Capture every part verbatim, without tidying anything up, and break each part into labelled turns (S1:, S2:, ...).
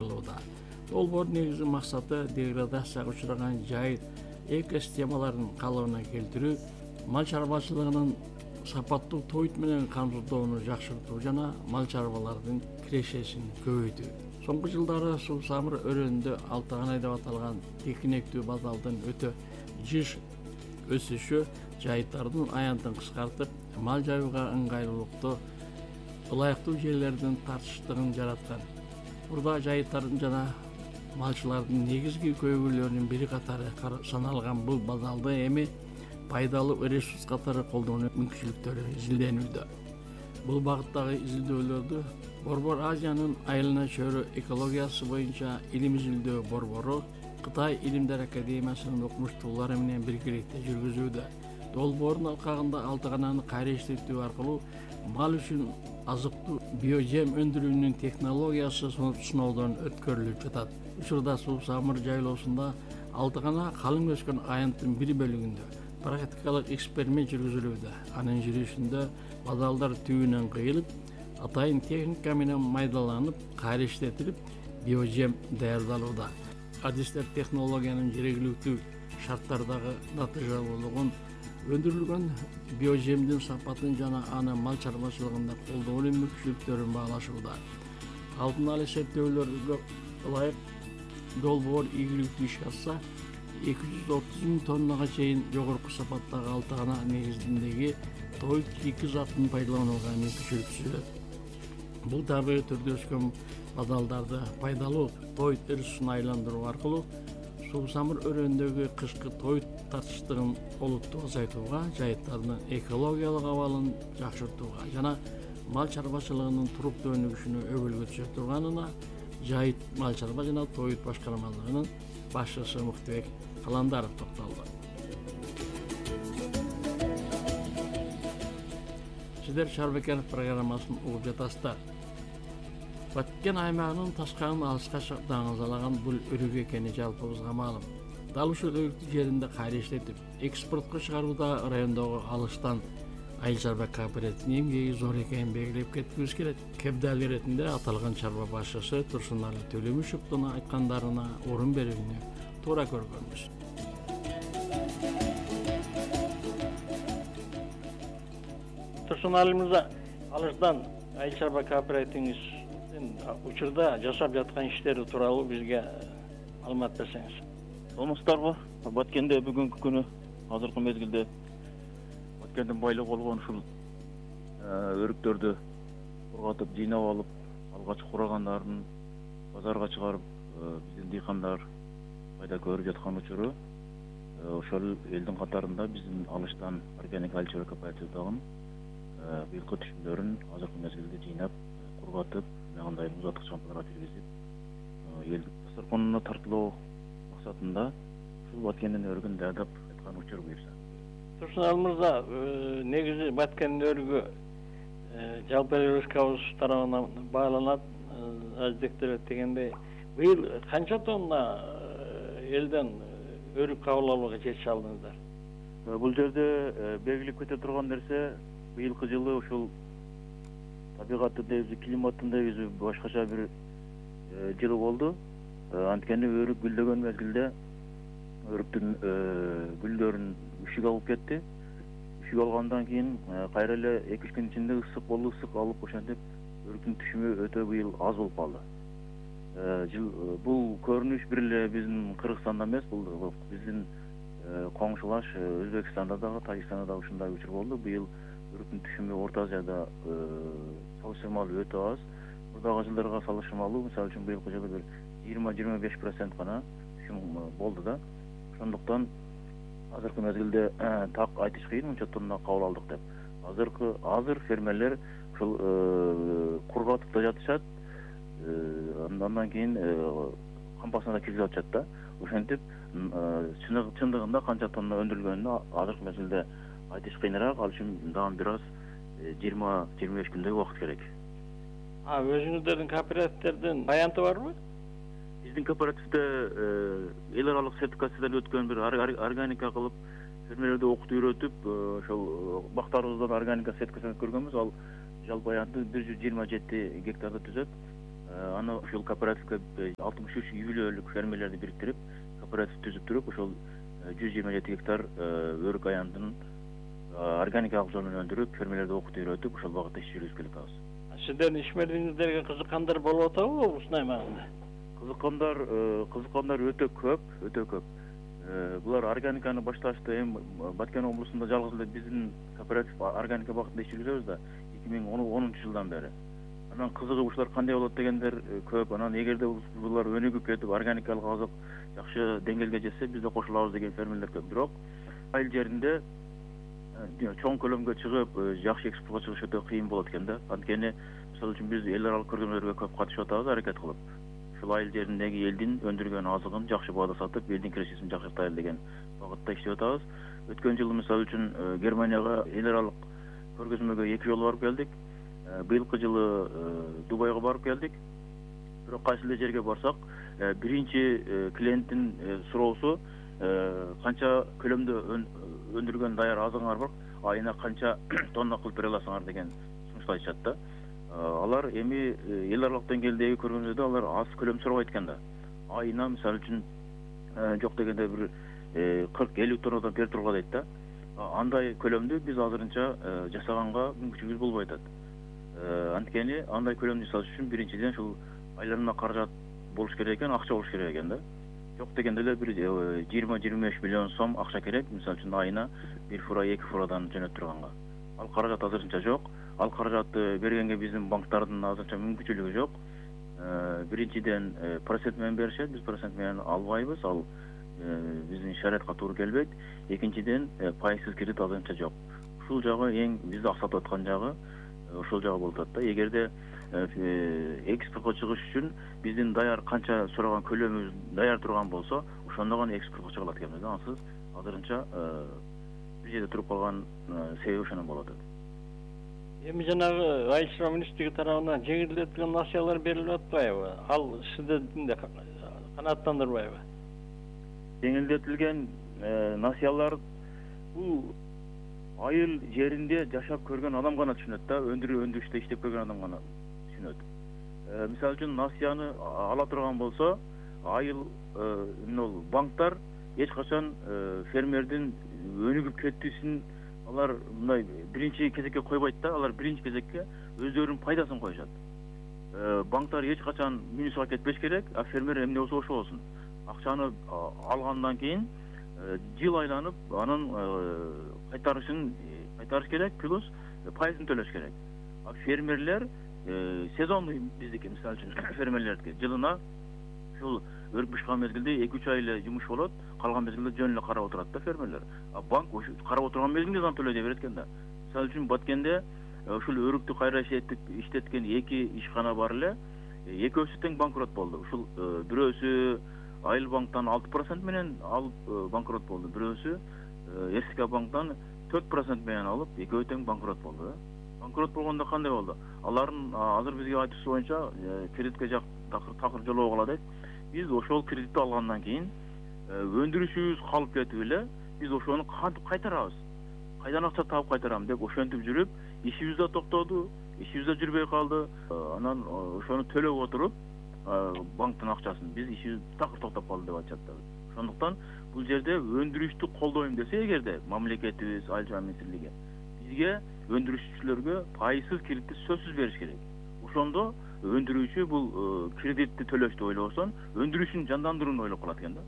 S1: Долбоор негизи максаты деградацияга учураган жайыт экосистемаларын калыбына келтирүү, мал чарбачылыгынын сапаттуу тоют менен камсыздоону жакшыртуу жана мал чарбалардын кирешесин көбөйтүү. Соңку жылдары Суу Самыр өрөөнүндө алтыганай деп аталган текинектүү базалдын өтө жыш өсүшү жайыттардын аянтын кыскартып, мал жаюуга ыңгайлуулукту, ылайыктуу жерлердин тартыштыгын жараткан. Мурда жайыттардын жана малчылардын негизги көйгөйлөрүнүн бири катары саналган бул базалды эми пайдалуу ресурс катары колдонуу мүмкүнчүлүктөрү изилденүүдө. Бул багыттагы изилдөөлөрдү Борбор Азиянын айылына чөйрө экологиясы боюнча илим изилдөө борбору Кытай Илимдер академиясынын окумуштуулары менен биргеликте жүргүзүүдө. Долбоордун алкагында алтыгананы кайра иштетүү аркылуу мал үчүн азыктуу биожем өндүрүүнүн технологиясы сыноодон өткөрүлүп жатат. Учурда Суу Самыр жайлоосунда алтыгана калың өскөн аянттын бир бөлүгүндө практикалык эксперимент жүргүзүлүүдө. Анын жүрүшүндө базалдар түбүнөн кыйылып, атайын техника менен майдаланып, кайра иштетилип, биожем даярдалууда. Адистер технологиянын жергиликтүү шарттардагы натыйжалуулугун, өндүрүлгөн биожемдин сапатын жана аны мал чарбачылыгында колдонуу мүмкүнчүлүктөрүн баалашууда. Алдын ала эсептөөлөргө ылайык долбоор ийгиликтүү иш алса, эки жүз отуз миң тоннага чейин жогорку сапаттагы алтыгана негизиндеги тоют эки затын пайдаланууга мүмкүнчүлүк түзөт. Бул табигый түрдө өскөн базалдарды пайдалуу тоют ресурсуна айландыруу аркылуу Суу Самыр өрөөнүндөгү кышкы тоют тартыштыгын олуттуу азайтууга, жайыттардын экологиялык абалын жакшыртууга жана мал чарбачылыгынын туруктуу өнүгүшүнө өбөлгө түшө турганына жайыт мал чарба жана тоют башкармалыгынын башчысы Муктубек Каландаров токтолду. Сиздер Шарбекенов программасын угуп жатасыздар. Баткен аймагынын ташканын алыска даңазалаган бул өрүк экени жалпыбызга маалым. Дал ушул өрүктү жеринде кайра иштетип, экспортко чыгарууда райондогу алыштан айыл чарба кооперативинин эмгеги зор экенин белгилеп кеткибиз келет. Кепдал иретинде аталган чарба башчысы Турсунали Төлөмүшевдин айткандарына орун берүүнү туура көргөнбүз. Турсунали мырза, алыштан айыл чарба кооперативиңиз учурда жасап жаткан иштери тууралуу бизге маалымат берсеңиз.
S2: Саламатсыздарбы? Баткенде бүгүнкү күнү азыркы мезгилде Баткендин байлыгы болгон ушул өрүктөрдү кургатып, жыйнап алып, алгач курагандарын базарга чыгарып, биздин дыйкандар пайда көрүп жаткан учуру ошол элдин катарында биздин алыштан органик айыл чарба кооперативи дагы быйылкы түшүмдөрүн азыркы мезгилде жыйнап, кургатып, мындай узаткыч кампаларга киргизип, элдин дасторконуна тартылуу максатында ушул Баткендин өрүгүн даярдап аткан учур буюрса.
S1: Турсунали мырза, негизи Баткендин өрүгү жалпы республикабыз тарабынан бааланат, аздектелет дегендей. Быйыл канча тонна элден өрүк кабыл алууга жетише алдыңыздар?
S2: Бул жерде белгилеп кете турган нерсе, быйылкы жылы ушул табигаттын негизи, климаттын негизи башкача бир жылы болду. Анткени өрүк гүлдөгөн мезгилде өрүктүн гүлдөрүн үшүк алып кетти. Үшүк алгандан кийин кайра эле эки үч күн ичинде ысык болду, ысык алып ошентип өрүктүн түшүмү өтө быйыл аз болуп калды. Бул көрүнүш бир эле биздин Кыргызстанда эмес, бул биздин коңшулаш Өзбекстанда дагы, Тажикстанда дагы ушундай учур болду. Быйыл өрүктүн түшүмү Орто Азияда салыштырмалуу өтө аз. Мурдагы жылдарга салыштырмалуу, мисалы үчүн быйылкы жылы бир жыйырма жыйырма беш процент гана түшүм болду да. Ошондуктан азыркы мезгилде так айтыш кыйын, мынча тонна кабыл алдык деп. Азыркы азыр фермерлер ушул кургатып да жатышат, андан кийин кампасына да киргизип атышат да. Ошентип чындыгында канча тонна өндүрүлгөнүнө азыркы мезгилде айтыш кыйыныраак. Ал үчүн дагы бир аз жыйырма жыйырма беш күндөй убакыт керек.
S1: А өзүңүздөрдүн кооперативдердин аянты барбы?
S2: Биздин кооперативде эл аралык сертификациядан өткөн бир органика кылып, фермерлерди окутуп үйрөтүп, ошол бактарыбыздан органика сертификацияны көргөнбүз. Ал жалпы аянты бир жүз жыйырма жети гектарды түзөт. Аны ушул кооперативге алтымыш үч үй бүлөлүк фермерлерди бириктирип кооператив түзүп туруп ошол жүз жыйырма жети гектар өрүк аяндын органикалык жол менен өндүрүп фермерлерди окутуп үйрөтүп ошол багытта иш жүргүзүп келатабыз.
S1: Сиздердин ишмердигиңиздерге кызыккандар болуп атабы ушундай маалда?
S2: Кызыккандар кызыккандар өтө көп, өтө көп. Булар органиканы башташты. Эми Баткен облусунда жалгыз эле биздин кооператив органика багытында иш жүргүзөбүз да эки миң онунчу жылдан бери. Анан кызыгып ушулар кандай болот дегендер көп. Анан эгерде булар өнүгүп кетип органикалык азык жакшы деңгээлге жетсе биз да кошулабыз деген фермерлер көп. Бирок айыл жеринде чоң көлөмгө чыгып жакшы экспортко чыгыш өтө кыйын болот экен да. Анткени мисалы үчүн биз эл аралык көргөзмөлөргө көп катышып атабыз, аракет кылып. Ушул айыл жериндеги элдин өндүргөн азыгын жакшы баада сатып, элдин кирешесин жакшыртайлы деген багытта иштеп атабыз. Өткөн жылы мисалы үчүн Германияга эл аралык көргөзмөгө эки жолу барып келдик. Быйылкы жылы Дубайга барып келдик. Бирок кайсы эле жерге барсак, биринчи клиенттин суроосу канча көлөмдө өндүргөн даяр азыгыңар бар, айына канча тонна кылып бере аласыңар деген сунушту айтышат да. Алар эми эл аралык деңгээлдеги көргөзмөдө алар аз көлөм сурабайт экен да. Айына мисалы үчүн жок дегенде бир кырк элүү тоннадан берип тургула дейт да. Андай көлөмдү биз азырынча жасаганга мүмкүнчүлүгүбүз болбой атат. Анткени андай көлөмдү жасаш үчүн биринчиден ушул айланма каражат болуш керек экен, акча болуш керек экен да. Жок дегенде эле бир жыйырма жыйырма беш миллион сом акча керек, мисалы үчүн айына бир фура эки фурадан жөнөтүп турганга. Ал каражат азырынча жок. Ал каражатты бергенге биздин банктардын азырынча мүмкүнчүлүгү жок. Биринчиден процент менен беришет, биз процент менен албайбыз, ал биздин шариатка туура келбейт. Экинчиден пайызсыз кредит азырынча жок. Ушул жагы эң бизди аксатып аткан жагы ошол жагы болуп атат да. Эгерде экспортко чыгыш үчүн биздин даяр канча сураган көлөмүбүз даяр турган болсо, ошондо гана экспортко чыга алат экенбиз да. Ансыз азырынча бир жерде туруп калган себеби ошондон болуп атат.
S1: Эми жанагы айыл чарба министрлиги тарабынан жеңилдетилген насыялар берилип атпайбы? Ал сиздердин да канааттандырбайбы?
S2: Жеңилдетилген насыялар бул айыл жеринде жашап көргөн адам гана түшүнөт да, өндүрүү өндүрүштө иштеп көргөн адам гана түшүнөт. Мисалы үчүн насыяны ала турган болсо, айыл мынол банктар эч качан фермердин өнүгүп кетүүсүн алар мындай биринчи кезекке койбойт да, алар биринчи кезекке өздөрүнүн пайдасын коюшат. Банктар эч качан минусга кетпеш керек, а фермер эмне болсо ошо болсун. Акчаны алгандан кийин жыл айланып анын кайтарышын кайтарыш керек, плюс пайызын төлөш керек. А фермерлер сезондуу биздики мисалы үчүн фермерлердики жылына ушул өрүк бышкан мезгилде эки үч ай эле жумуш болот, калган мезгилде жөн эле карап отурат да фермерлер. А банк ошо карап отурган мезгилде гана төлөй берет экен да. Мисалы үчүн Баткенде ушул өрүктү кайра иштеткен эки ишкана бар эле, экөөсү тең банкрот болду. Ушул бирөөсү Айыл банктан алты процент менен алып банкрот болду. Бирөөсү РСК банктан төрт процент менен алып, экөө тең банкрот болду. Банкрот болгондо кандай болду? Алардын азыр бизге айтуусу боюнча кредитке жак такыр жолоо кала дейт. Биз ошол кредитти алгандан кийин өндүрүшүбүз калып кетип эле, биз ошону кантип кайтарабыз? Кайдан акча таап кайтарам деп ошентип жүрүп, ишибиз да токтоду, ишибиз да жүрбөй калды. Анан ошону төлөп отуруп банктын акчасын биз ишибиз такыр токтоп калды деп айтышат да. Ошондуктан бул жерде өндүрүштү колдойм десе эгерде мамлекетибиз, айыл чарба министрлиги бизге өндүрүшчүлөргө пайызсыз кредитти сөзсүз бериш керек. Ошондо өндүрүүчү бул кредитти төлөштү ойлобосон, өндүрүшүн жандандырууну ойлоп калат экен да.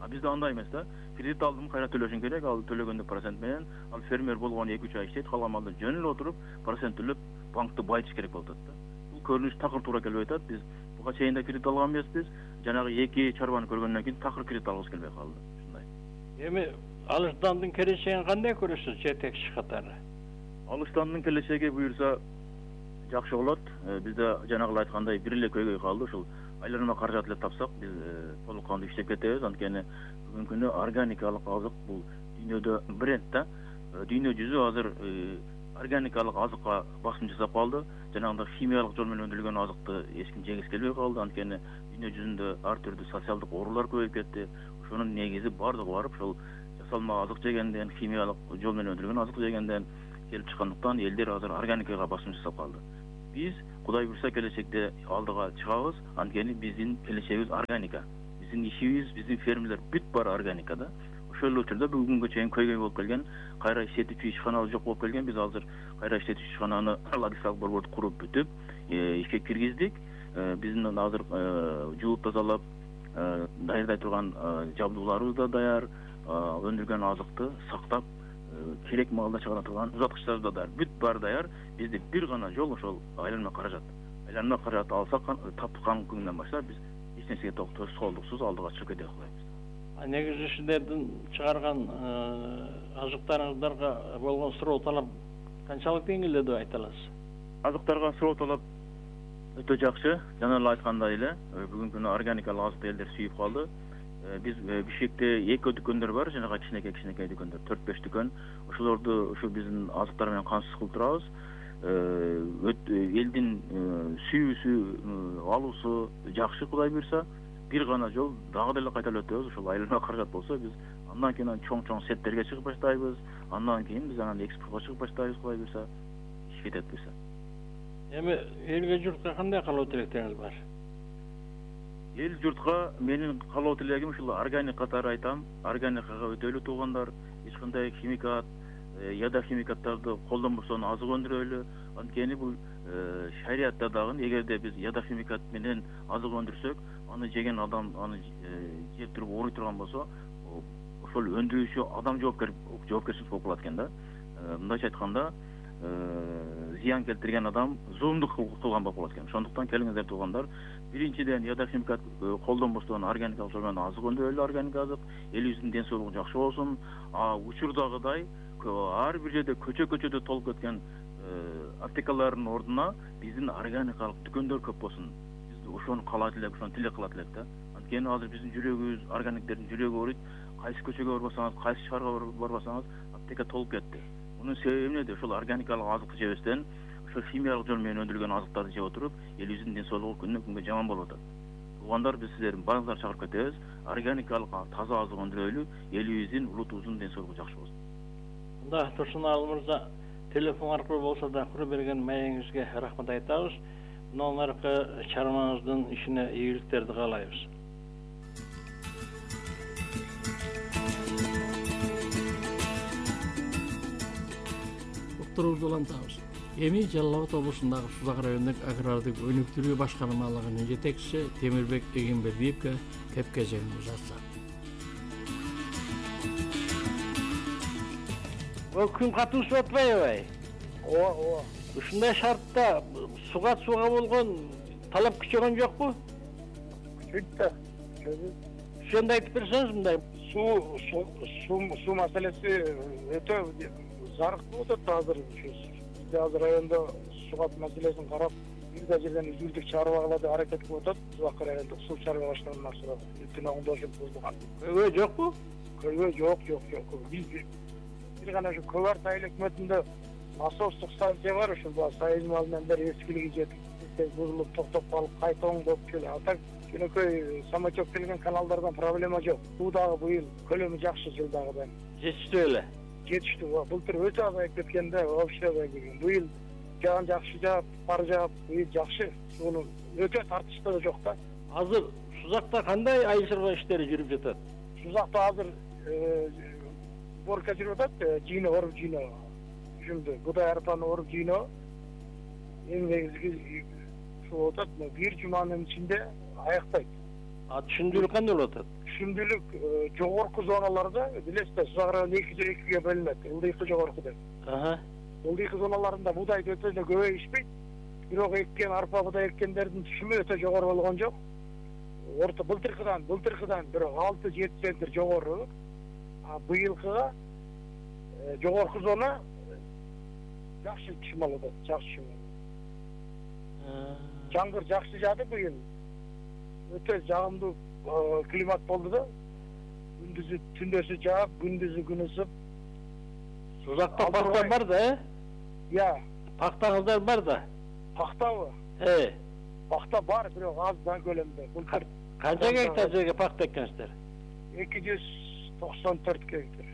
S2: А бизде андай эмес да. Кредит алдым, кайра төлөшүң керек, ал төлөгөндө процент менен, ал фермер болгону эки үч ай иштейт, калган малда жөн эле отуруп, процент төлөп, банкты байытыш керек болуп атат да. Бул көрүнүш такыр туура келбей атат. Биз буга чейин да кредит алган эмеспиз. Жанагы эки чарбаны көргөндөн кийин такыр кредит алгыбыз келбей калды. Ушундай.
S1: Эми Алыштандын келечегин кандай көрөсүз жетекчи катары?
S2: Алыштандын келечеги буюрса жакшы болот. Бизде жанагы айткандай бир эле көйгөй калды. Ушул айланма каражат эле тапсак, биз толук кандуу иштеп кетебиз. Анткени бүгүнкү күнү органикалык азык бул дүйнөдө бренд да. Дүйнө жүзү азыр органикалык азыкка басым жасап калды. Жанагындай химиялык жол менен өндүрүлгөн азыкты эч ким жегиси келбей калды. Анткени дүйнө жүзүндө ар түрдүү социалдык оорулар көбөйүп кетти. Ошонун негизи бардыгы барып ушул жасалма азык жегенден, химиялык жол менен өндүрүлгөн азык жегенден келип чыккандыктан элдер азыр органикага басым жасап калды. Биз Кудай буйрса келечекте алдыга чыгабыз. Анткени биздин келечегибиз органика. Биздин ишибиз, биздин фермелер бүт баары органикада. Ошол эле учурда бүгүнгө чейин көйгөй болуп келген, кайра иштетүүчү ишканабыз жок болуп келген. Биз азыр кайра иштетүүчү ишкананы логистикалык борборду куруп бүтүп, ишке киргиздик. Биздин азыр жууп тазалап даярдай турган жабдууларыбыз да даяр, өндүргөн азыкты сактап керек маалда чыгара турган узаткычтарыбыз да даяр. Бүт баары даяр. Бизде бир гана жол ошол айланма каражат. Айланма каражатты алсак, таптыкан күнүнөн баштап биз эч нерсеге тоскоолдуксуз алдыга чыгып кете алабыз.
S1: А негизи сиздердин чыгарган азыктарыңыздарга болгон суроо талап канчалык деңгээлде деп айта аласыз?
S2: Азыктарга суроо талап өтө жакшы. Жана эле айткандай эле, бүгүнкү күнү органикалык азыкты элдер сүйүп калды. Биз Бишкекте эки дүкөндөр бар, жанагы кичинекей кичинекей дүкөндөр, төрт беш дүкөн. Ошолорду ушу биздин азыктар менен камсыз кылып турабыз. Элдин сүйүүсү, алуусу жакшы, Кудай буйрса. Бир гана жол дагы деле кайталап өтөбүз. Ошол айланма каражат болсо, биз андан кийин чоң-чоң сеттерге чыгып баштайбыз. Андан кийин биз анан экспортко чыгып баштайбыз, Кудай буйрса. Иш кетет буйрса.
S1: Эми элге журтка кандай каалоо тилектериңиз бар?
S2: Эл журтка менин каалоо тилегим ушул органик катары айтам. Органикага өтөлү туугандар, эч кандай химикат, яда химикаттарды колдонбостон азык өндүрөлү. Анткени бул шариятта дагы эгерде биз яда химикат менен азык өндүрсөк, аны жеген адам аны жеп туруп ооруй турган болсо, ошол өндүрүүчү адам жоопкер жоопкерчилик болуп калат экен да. Мындайча айтканда, зыян келтирген адам зулумдук кылган болуп калат экен. Ошондуктан келиңиздер туугандар, биринчиден яда химикат колдонбостон органикалык жол менен азык өндүрөлү, органик азык, элибиздин ден соолугу жакшы болсун. А учурдагыдай ар бир жерде көчө-көчөдө толуп кеткен аптекалардын ордуна биздин органикалык дүкөндөр көп болсун. Биз ошону каалайт элек, ошону тилек кылат элек да. Анткени азыр биздин жүрөгүбүз, органиктердин жүрөгү ооруйт. Кайсы көчөгө барбасаңыз, кайсы шаарга барбасаңыз, аптека толуп кетти. Мунун себеби эмнеде? Ошол органикалык азыкты жебестен, ошол химиялык жол менен өндүрүлгөн азыктарды жеп отуруп, элибиздин ден соолугу күнүнөн күнгө жаман болуп атат. Туугандар, биз сиздердин баарыңыздарды чакырып кетебиз. Органикалык таза азык өндүрөлү, элибиздин, улутубуздун ден соолугу жакшы болсун. Мында
S1: Турсунаалы мырза, телефон аркылуу болсо да кура берген маегиңизге рахмат айтабыз. Мындан аркы чармаңыздын ишине ийгиликтерди каалайбыз. Уктуруубузду улантабыз. Эми Жалал Абад облусундагы Сузак районундук агрардык өнүктүрүү башкармалыгынын жетекчиси Темирбек Эгембердиевге кеп-кезегин узатсак. Күн катуу ушуп атпайбы?
S3: Ооба, ооба.
S1: Ушундай шартта суга сууга болгон талап күчөгөн жокпу?
S3: Күчөйт да.
S1: Ошондо айтып берсеңиз мындай.
S3: Суу, суу, суу маселеси өтө зарык болуп атат азыр. Бизде азыр райондо суу маселесин карап, бир да жерден үзүлдүк чыгарбагыла деп аракет кылып атат. Сузак райондо суу чыгарбай баштагандан sonra бүтүн оңдошуп бузулган.
S1: Көйгөй жокпу?
S3: Көйгөй жок, жок, жок. Биз бир гана ушу Көбөр айыл өкмөтүндө насостук станция бар, ушул союзмал менен бери эскилиги жетип, бузулуп токтоп калып, кайта оңдоп келе. А так жөнөкөй самотек келген каналдардан проблема жок. Суу дагы быйыл көлөмү жакшы жылдагыдан.
S1: Жетиштүү эле.
S3: Жетиштүү. Былтыр өтө азайып кеткенде вообще азайып кеткен. Быйыл жаган жакшы жаап, бар жаап, быйыл жакшы. Сууну өтө тартыштуу да жок да.
S1: Азыр Сузакта кандай айыл чарба иштери жүрүп жатат?
S3: Сузакта азыр борка жүрүп атат, жийно, оруп жийно. Ушунду будай арпаны оруп жийно. Эң негизги ушул болуп атат, бир жуманын ичинде аяктайт.
S1: А түшүндүүлүк кандай болуп атат?
S3: Түшүндүүлүк жогорку зоналарда, билесиз, Сузак району экиге бөлүнөт. Ылдыйкы жогорку деп.
S1: Аха.
S3: Ылдыйкы зоналарында будай өтө эле көбөйүшпөйт. Бирок эккен арпа будай эккендердин түшүмү өтө жогору болгон жок. Орто былтыркыдан, былтыркыдан бирок алты жети центр жогору. А быйылкыга жогорку зона жакшы түшүм алып атат, жакшы түшүм. Жаңгыр жакшы жаады быйыл. Өтө жагымдуу климат болду да. Күндүзү түндөсү жаап, күндүзү күн ысып.
S1: Сузакта пахта бар да, э?
S3: Я.
S1: Пахтаңыздар бар да.
S3: Пахтабы?
S1: Э.
S3: Пахта бар, бирок аз да көлөмдө. Былтыр
S1: канча гектар жерге пахта эккенсиздер?
S3: эки жүз токсон төрт гектар.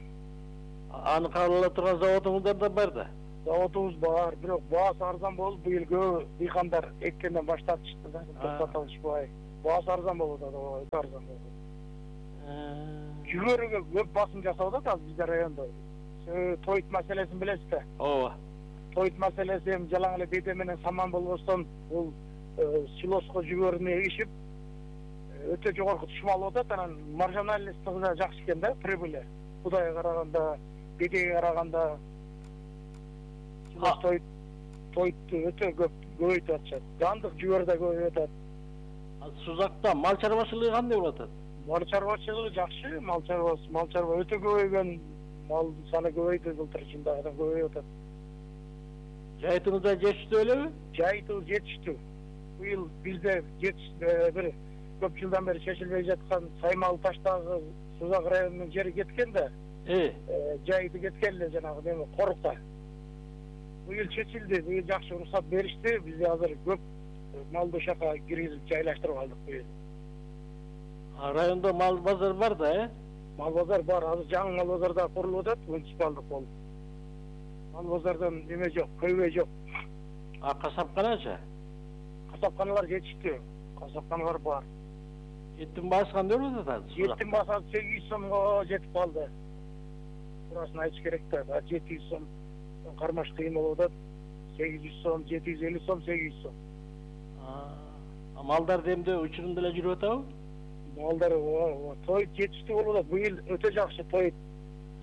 S1: Аны кабыл ала турган заводуңуздар да бар да?
S3: Заводубуз бар, бирок баасы арзан болуп, быйыл көп дыйкандар эккенден баш тартышты да, токтото алышпай. Баасы арзан болуп атат, ооба, өтө арзан болуп атат. Жүгөрүгө көп басым жасап атат азыр биздин райондо. Тоyut маселесин билесиз да?
S1: Ооба.
S3: Тоyut маселеси эми жалаң эле беде менен саман болбостон, бул силоско жүгөрүнү эгишип, өтө жогорку түшүм алып атат, анан маржинальность да жакшы экен да, прибыли. Кудайга караганда, бедеге караганда Тоyut тоyuttu өтө көп көбөйтүп атышат. Жандык жүгөр да көбөйүп атат.
S1: Сузакта мал чарбачылыгы кандай болуп атат?
S3: Мал чарбачылыгы жакшы, мал чарбасы, мал чарба өтө көбөйгөн, мал саны көбөйдү, былтыр жылдагыдан көбөйүп атат.
S1: Жайытыңыз да жетиштүү элеби?
S3: Жайытыбыз жетиштүү. Быйыл бизде бир көп жылдан бери чечилбей жаткан Саймал Таштагы Сузак районунун жери кеткен да.
S1: Э,
S3: жайыты кеткен эле жанагы неме Корукта. Быйыл чечилди, быйыл жакшы уруксат беришти. Бизде азыр көп малды ошака киргизип жайлаштырып алдык быйыл.
S1: Райондо мал базар бар да, э?
S3: Мал базар бар, азыр жаңы мал базар да курулуп атат, муниципалдык болуп. Мал базардан неме жок, көйбөй жок.
S1: А касапканачы?
S3: Касапканалар жетиштүү, касапканалар бар.
S1: Эттин баасы кандай болуп атат?
S3: Эттин баасы сегиз жүз сомго жетип калды. Турасын айтыш керек да, жети жүз сом кармаш кыйын болуп атат. сегиз жүз сом, жети жүз элүү сом, сегиз жүз сом.
S1: А малдар демде учурунда эле жүрүп атабы?
S3: Малдар тоyut жетиштүү болуп атат. Быйыл өтө жакшы тоyut.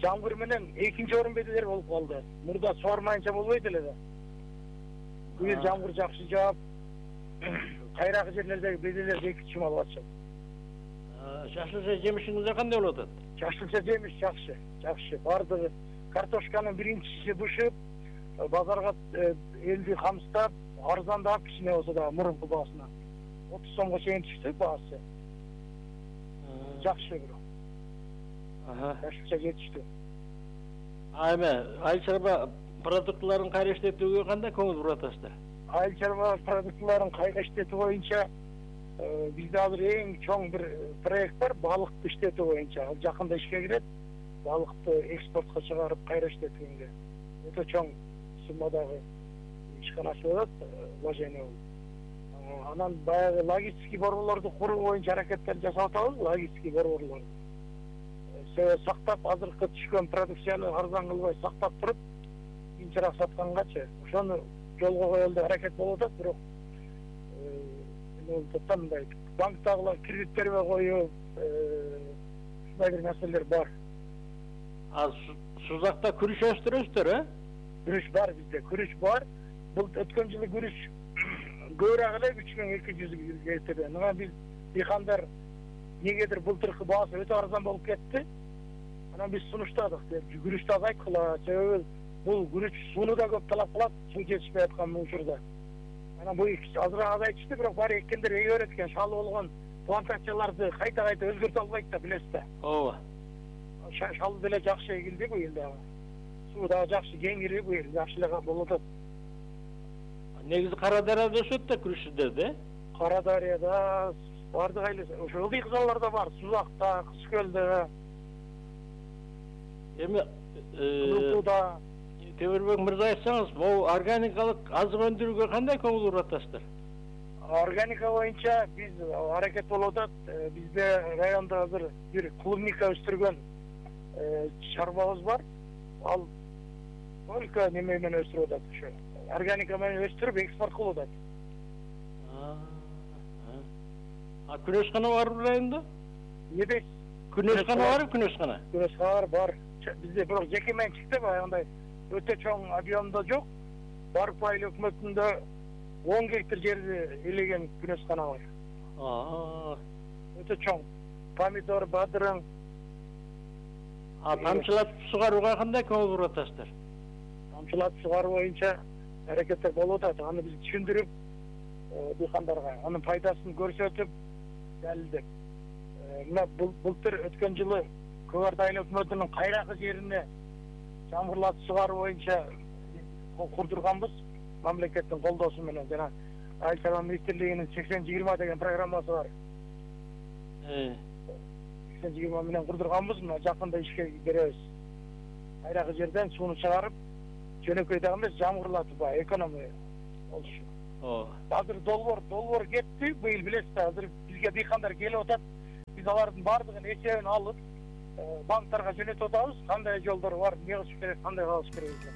S3: Жамгыр менен экинчи орун беделер болуп калды. Мурда суармайынча болбойт эле да. Быйыл жамгыр жакшы жаап, кайракы жерлердеги беделерди эки чым алып атышат.
S1: Жашылча жемишиңиздер кандай болуп атат?
S3: Жашылча жемиш жакшы, жакшы. Бардыгы картошканын биринчиси бышып, базарга элди камсыздап, арзандап кичине болсо да мурунку баасынан. отуз сомго чейин түштү баасы. Жакшы бирок.
S1: Ага.
S3: Жашылча жетиштүү.
S1: А эме айыл чарба продуктларын кайра иштетүүгө кандай көңүл буруп атасыздар?
S3: Айыл чарба продуктларын кайра иштетүү боюнча бизде азыр эң чоң бир проект бар, балыкты иштетүү боюнча. Ал жакында ишке кирет. Балыкты экспортко чыгарып кайра иштетүүгө. Өтө чоң суммадагы ишкана ачып атат, вложение болуп. Анан баягы логистикий борборлорду куруу боюнча аракеттер жасап атабыз, логистикий борборлор. Сактап, азыркы түшкөн продукцияны арзан кылбай сактап туруп, кийинчерээк саткангачы. Ошону жолго коелу деп аракет болуп атат, бирок топтан мындай банктагылар кредиттерге коюп, ушундай бир маселелер бар.
S1: А Сузакта күрүч өстүрөсүздөр, э?
S3: Күрүч бар бизде, күрүч бар. Бул өткөн жылы күрүч көбүрөөк эле үч миң эки жүз кетти. Мына биз дыйкандар негедир былтыркы баасы өтө арзан болуп кетти. Анан биз сунуштадык, күрүчтү азайткыла, себеби бул күрүч сууну да көп талап кылат, суу жетишпей аткан учурда. Анан бул азыраак азайтышты, бирок баары эккендер эге берет экен, шалы болгон плантацияларды кайта-кайта өзгөртө албайт да, билесиз да.
S1: Ооба.
S3: Шалы деле жакшы эгилди быйыл дагы. Суу дагы жакшы кеңири быйыл, жакшы эле болуп атат.
S1: Негизи Кара Дарыяда өсөт да күрүчсүздөрдө, э?
S3: Кара Дарыяда бардык айлы, ошо ылдый кызаларда бар, Сузакта, Кызкөлдө. Эми Кызылтууда.
S1: Темирбек мырза айтсаңыз, могу органикалык азык өндүрүүгө кандай көңүл буруп атасыздар?
S3: Органика боюнча биз аракет болуп атат. Бизде райондо азыр бир клубника өстүргөн чарбабыз бар. Ал только неме менен өстүрүп атат ошо. Органика менен өстүрүп экспорт кылып атат.
S1: А күнөшкана барбы районда?
S3: Эмне?
S1: Күнөшкана барбы, күнөшкана?
S3: Күнөшкана бар. Бизде бирок жеке менчикте баягындай өтө чоң объемдо жок. Барып айыл өкмөтүндө он гектар жерди элеген күнөшкана бар.
S1: Аа.
S3: Өтө чоң. Помидор, бадырың.
S1: А тамчылатып сугарууга кандай көңүл буруп атасыздар?
S3: Тамчылатып сугаруу боюнча аракеттер болуп атат. Аны биз түшүндүрүп дыйкандарга анын пайдасын көрсөтүп, далилдеп. Мына былтыр өткөн жылы Көк Ар айыл өкмөтүнүн кайракы жерине жамгырлатып сугаруу боюнча курдурганбыз. Мамлекеттин колдоосу менен жана Айыл чарба министрлигинин сексен жыйырма деген программасы бар.
S1: Э.
S3: сексен жыйырма менен курдурганбыз, мына жакында ишке беребиз. Кайракы жерден сууну чыгарып, жөнөкөй дагы эмес, жамгырлатып баягы экономия болушу.
S4: Ооба.
S3: Азыр долбоор долбоор кетти, быйыл билесиз, азыр бизге дыйкандар келип атат. Биз алардын баардыгын эсебин алып, банктарга жөнөтүп атабыз. Кандай жолдор бар, эмне кылыш керек, кандай кылыш керек деп.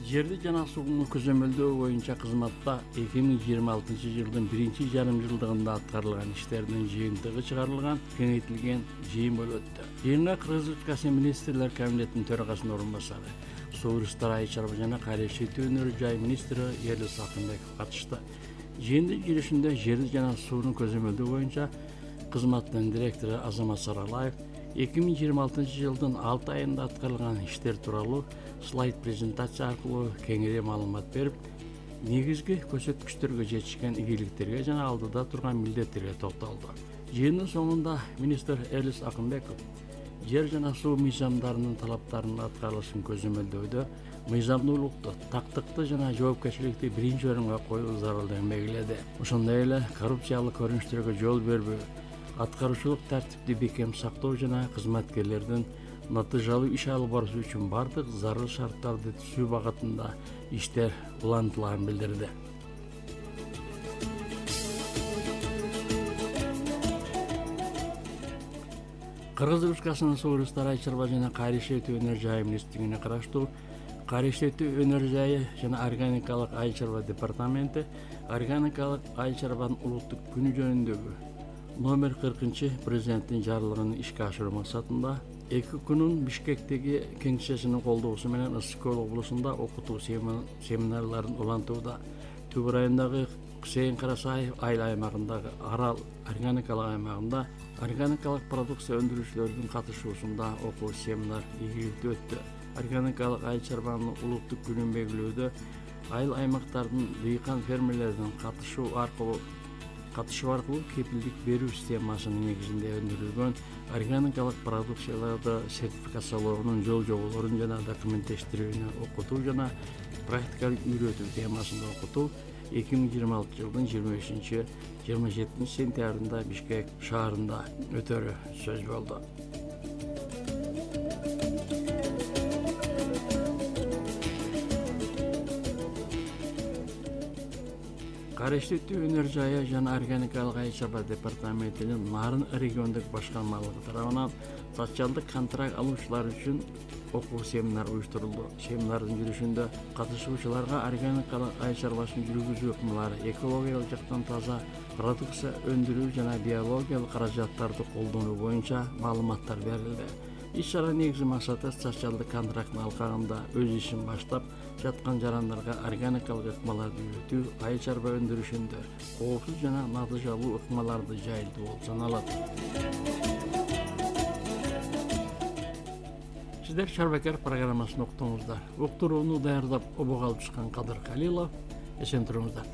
S1: Жерди жана сууну көзөмөлдөө боюнча кызматта эки миң жыйырма алтынчы жылдын биринчи жарым жылдыгында аткарылган иштердин жыйынтыгы чыгарылган кеңейтилген жыйын болуп өттү. Жыйынга Кыргыз Республикасы министрлер кабинетинин төрагасынын орун басары, Суу ресурстар айыл чарба жана кайра иштетүү өнөр жай министри Эрлис Акынбеков катышты. Жыйындын жүрүшүндө жерди жана сууну көзөмөлдөө боюнча кызматтын директору Азамат Саралаев эки миң жыйырма алтынчы жылдын алты айында аткарылган иштер тууралуу слайд презентация аркылуу кеңири маалымат берип, негизги көрсөткүчтөргө жетишкен ийгиликтерге жана алдыда турган милдеттерге токтолду. Жыйындын соңунда министр Эрлис Акынбеков жер жана суу мыйзамдарынын талаптарынын аткарылышын көзөмөлдөөдө мыйзамдуулукту, тактыкты жана жоопкерчиликти биринчи орунга коюу зарылдыгын белгиледи. Ошондой эле коррупциялык көрүнүштөргө жол бербөө, аткаруучулук тартипти бекем сактоо жана кызматкерлердин натыйжалуу иш алып барышы үчүн бардык зарыл шарттарды түзүү багытында иштер улантылаганын билдирди. Кыргыз Республикасынын Суу ресурстар айыл чарба жана кайра иштетүү өнөр жайы министрлигине караштуу кайра иштетүү өнөр жайы жана органикалык айыл чарба департаменти органикалык айыл чарбанын улуттук күнү жөнүндөгү номер кыркынчы президенттин жарлыгын ишке ашыруу максатында эки күнүн Бишкектеги кеңсесинин колдоосу менен Ысык Көл облусунда окутуу семинарларын улантууда. Түбүр айындагы Кусейин Карасаев айыл аймагындагы Арал органикалык аймагында органикалык продукция өндүрүүчүлөрдүн катышуусунда окуу семинар ийгиликтүү өттү. Органикалык айыл чарбанын улуттук күнүн белгилөөдө айыл аймактардын дыйкан фермерлердин катышуу аркылуу катышуу аркылуу кепилдик берүү системасынын негизинде өндүрүлгөн органикалык продукцияларды сертификациялоонун жол жоболорун жана документтештирүүнү окутуу жана практикалык үйрөтүү темасында окутуу эки миң жыйырма алтынчы жылдын жыйырма бешинчи жыйырма жетинчи сентябрында Бишкек шаарында өтөрү сөз болду. Кайра иштетүү өнөр жайы жана органикалык айыл чарба департаментинин Нарын региондук башкармалыгы тарабынан социалдык контракт алуучулар үчүн окуу семинар уюштурулду. Семинардын жүрүшүндө катышуучуларга органикалык айыл чарбасын жүргүзүү ыкмалары, экологиялык жактан таза продукция өндүрүү жана биологиялык каражаттарды колдонуу боюнча маалыматтар берилди. Иш-чара негизги максаты социалдык контракттын алкагында өз ишин баштап жаткан жарандарга органикалык ыкмаларды үйрөтүү, айыл чарба өндүрүшүндө коопсуз жана натыйжалуу ыкмаларды жайылтуу болуп саналат. Сиздер Чарбакер программасын уктуңуздар. Уктурууну даярдап обого алып чыккан Кадыр Калилов. Эсен туруңуздар.